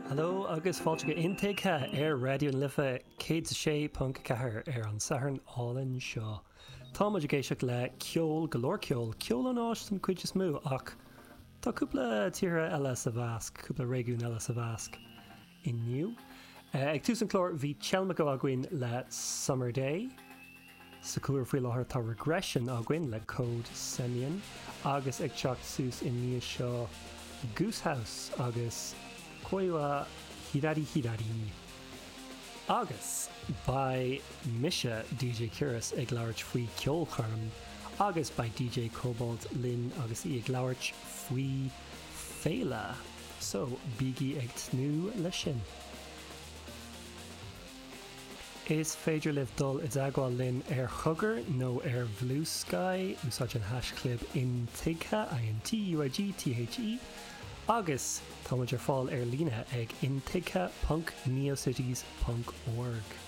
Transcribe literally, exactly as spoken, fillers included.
Hello agus fáilte go Intuigthe ar Raidió na Life céad sé ponc ceathair ar an Satharn álainn seo. Tá muid ag éisteacht le ceol go leor ceol, ceol ón Áis den chuid is mó ach tá cúpla tíortha eile sa mheasc, cúpla réigiún eile sa mheasc inniu. Uh, ag tús an chláir bhí Chelmico againn le Summer Day. Sa chúlra faoi láthair tá Regression againn le Code Semion agus ag teacht suas i ndiaidh seo Goose House agus Koi wa Hirari Hirari. Agus beidh mise DJ Curas ag labhairt faoi ceolchoirm agus beidh DJ Cobalt linn agus í ag labhairt faoi féile. So bígí ag tnúth le sin. Is féidir libh dul i dteagmháil linn ar Chogar nó ar Blue Sky úsáid an haischlib intuigthe I-N-T-U-I-G-T-H-E agus táimid ar fáil ar líne ag intuigthe.neocities.org.